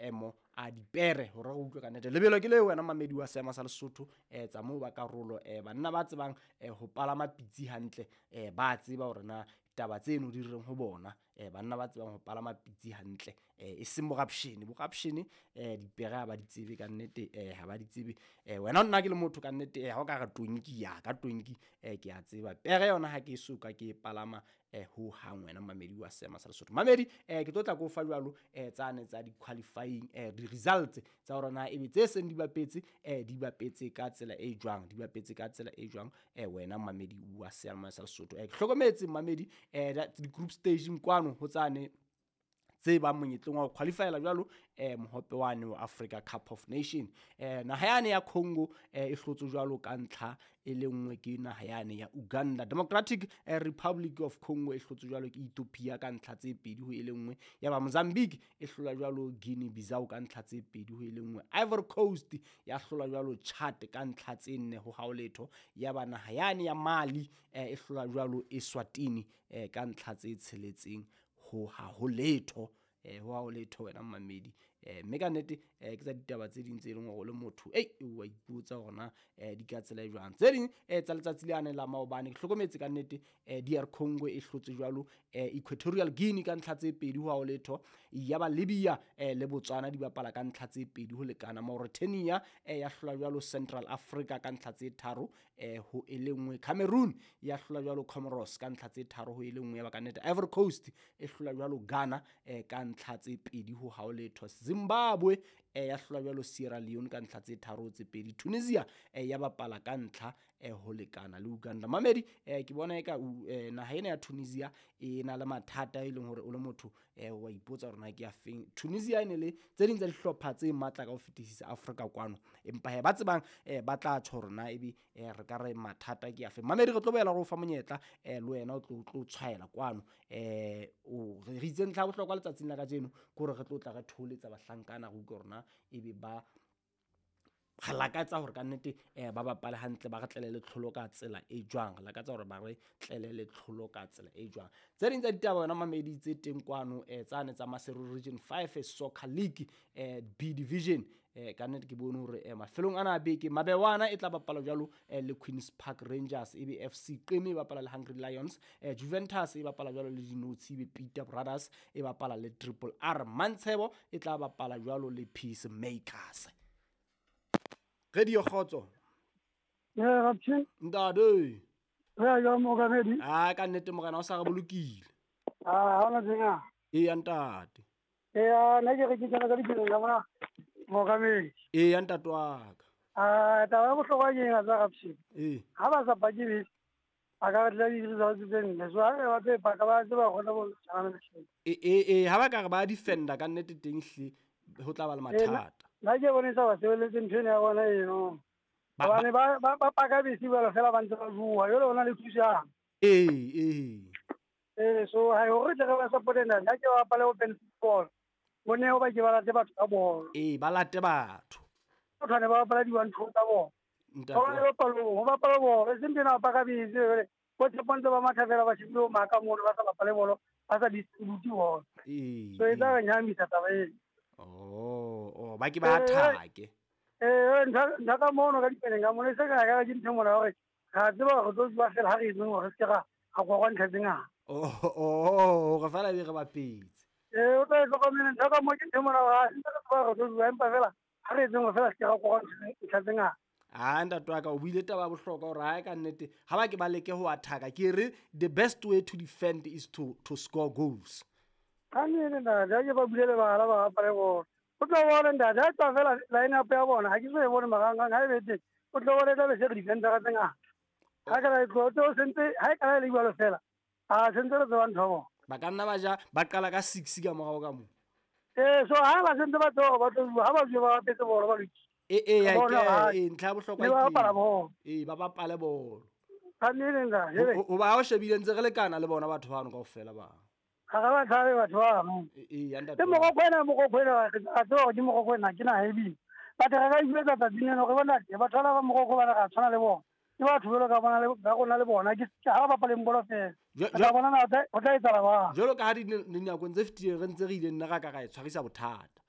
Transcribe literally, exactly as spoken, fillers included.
maemo a dipere hore re utlwe ka nnete. Lebelo ke le wena mamedi wa seema sa Lesotho eh tsa moo ba karolo eh banna ba tsebang eh ho palama pitsi hantle eh ba tseba hore na taba tseno di reng ho bona eh banna ba tsebang ho palama pitsi hantle eh e seng borapshene borapshene eh dipere ha ba di tsebe ka nnete eh ha ba di tsebe eh wena nna ke le motho ka nnete eh ha o ka re tonki ya ka tonki eh ke a tseba pere yona ha ke so ka ke palama eh ho hang wena mamedi wa seema sa Lesotho. Mamedi eh ke tlo tla go fa jwalo eh tsane tsa di qualifying eh di results tsa hore na ebe tse seng di bapetse eh di bapetse ka tsela e jwang di bapetse ka tsela e jwang eh wena mamedi wa seema sa Lesotho. Eh ke hlokometse mamedi eh di group stage kwano ho tsane tse ba monyetleng wa ho qualifyela jwalo eh mohope wane wa Africa Cup of Nation. Eh naha yane ya Congo eh e hlotse jwalo ka ntlha e le nngwe ke naha yane ya Uganda. Democratic eh, Republic of Congo e hlotse jwalo ke Ethiopia ka ntlha tse pedi ho e le nngwe. Ya ba Mozambique e hlola jwalo Guinea Bissau ka ntlha tse pedi ho e le nngwe. Ivory Coast ya hlola jwalo Chad ka ntlha tse nne ho haoletho. Ya ba naha yane ya Mali eh, e hlola jwalo Eswatini eh, ka ntlha tse tsheletseng ho ha ho letho eh ho ha ho letho wena mamedi eh mme ka nnete eh ke tsa ditaba tse ding tse leng hore le motho ei wa ipotsa hore na eh di ka tsela e jwang. Tse ding eh tsa letsatsi le ane la maobane ke hlokometse ka nnete eh D R Congo e hlotse jwalo eh Equatorial Guinea ka ntlha tse pedi ho ha ho letho. Ya ba Libya eh le Botswana di bapala ka ntlha tse pedi ho lekana. Mauritania eh ya hlola jwalo Central Africa ka ntlha tse tharo eh ho e le nngwe. Cameroon ya hlola jwalo Comoros ka ntlha tse tharo ho e le nngwe. Ya ba ka nnete Ivory Coast e hlola jwalo Ghana eh ka ntlha tse pedi ho ha ho letho. Zimbabwe eh ya hlola jwalo Sierra Leone ka ntlha tse tharo tse pedi. Tunisia eh ya bapala ka ntlha eh ho lekana le Uganda. Mamedi eh ke bona eka eh, naha ena ya Tunisia e na le mathata e leng hore o le motho eh wa ipotsa hore na ke ya feng. Tunisia e ne le tse ding tsa dihlopha tse matla ka ho fetisisa Afrika kwano, empa he ba tsebang eh ba tla tjho hore na ebe eh re ka re mathata ke ya feng. Mamedi re tlo boela re o fa monyetla eh le wena o tlo tlo tshwaela kwano eh o re itse ntlha bohlokwa letsatsing la kajeno ke hore re tlo tla re tholetsa bahlankana re utlwe hore na ebe ba re lakatsa hore ka nnete eh ba bapale hantle ba re tlele le tlholo ka tsela e jwang. Re lakatsa hore ba re tlele le tlholo ka tsela e jwang. Tse ding tsa ditaba yona mamedi tse teng kwano eh tsane tsa Maseru Region five Soccer League eh B Division eh ka nnete ke bone hore eh mafelong ana a beke Mabewana e tla bapala jwalo eh, le Queens Park Rangers, e be F C Qeme e bapala le Hungry Lions, eh, Juventus e bapala jwalo le Dinotshi, e be Peter Brothers e bapala le Triple R. Mantshebo e tla bapala jwalo le Peacemakers. Radio Kgotso. Eh Raptjhe. Ntate. Re ya mokamedi. Ah ka nnete morena o sa re bolokile. Ah ha ona tsenga. E ya ntate. Eh nna ke re ke tsena ka dipelong ka mona mokamedi. E ya ntate wa ka. Ah taba ya bohlokwa ke eng tsa Raptjhe? Eh. Ha ba sa pake bese a ka tla di results tse nne. So ha ba tse paka ba tseba gona bo tshwana le tjhe. Eh eh eh ha ba ka re ba defender ka nnete teng hle ho tla ba le mathata. Nna ke bone sa ba sebeletse ntho ena ya bona eno. Hobane ba ba ba paka bese ba fela ba ntse ba bua, jwale ona le thusang. Eh eh. Eh so ha hore tle re ba support nna nna ke ba bapale open football. Bone ho ba ke ba late batho ka bolo. Eh ba late batho. Batho ne ba bapala di one two tsa bona. Ntate. Ba bapala ho bapala bolo, e seng tena ba paka bese jwale. Bo tshepo ntse ba matha fela ba shebile maka mono ba sa bapale bolo, ba sa distribute bolo. Eh. So e tla re nyahamisa taba eno. Oh, oh, ba ke ba athake. Eh, ntlha ntlha ka mono ka dipeleng ka mono e se ka ka ke ntho mona hore ga tseba hore tlo ba fela ha re itseng hore se ke ra ga kwa kwa ntlha tse ngata. Oh, oh, re fela be re bapetse. Eh, o tla hlokomela ntlha ka mo ke ntho mona hore ha se re tseba hore tlo bua empa fela ha re itseng hore fela se ke ra kwa kwa ntlha tse ngata. Ah ntate wa ka o buile taba ya bohlokwa hore ha ka nnete ha ba ke ba leke ho athaka ke re the best way to defend is to to score goals. Ka nnete ntate, ha ke ba bulele bala ba bapale bolo. O tlo bona ntate, ha tswa fela line up ya bona, ha ke so e bone marangrang ha e be teng. O tlo bona e tla be se re defender ka tse ngata. Ha ka la e tlo tlo sentse ha e ka la le jwalo fela. Ah sentse re tseba ntho ya bona. Ba ka nna ba ja ba qala ka six ka morao ka moo. Eh so ha ba sentse ba tlo ba tlo ha ba bua ba bapetse bolo ba lokile. Eh eh ya ke eh ntlha ya bohlokwa ke. Ba bapala bolo. Eh ba bapale bolo. Ka nnete ntate. O ba o shebile ntse re lekana le bona batho bano kaofela ba. Ga ba tshabe batho ba mo. Eh eh ntate. Ke Mokokwena Mokokwena a tseba hore ke Mokokwena ke naha e bile. Batho re ka ijwetsa tsatsing lena hore bona batho ba ba Mokoko ba re tshwana le bona. Ke batho jwalo ka bona le ba rona le bona ke ha ba bapaleng bolo fela. Ka bona na o tla etsahala jwang. Jwalo ka ha dinakong tse fetileng re ntse re ile nna ra ka ra e tshwarisa bothata.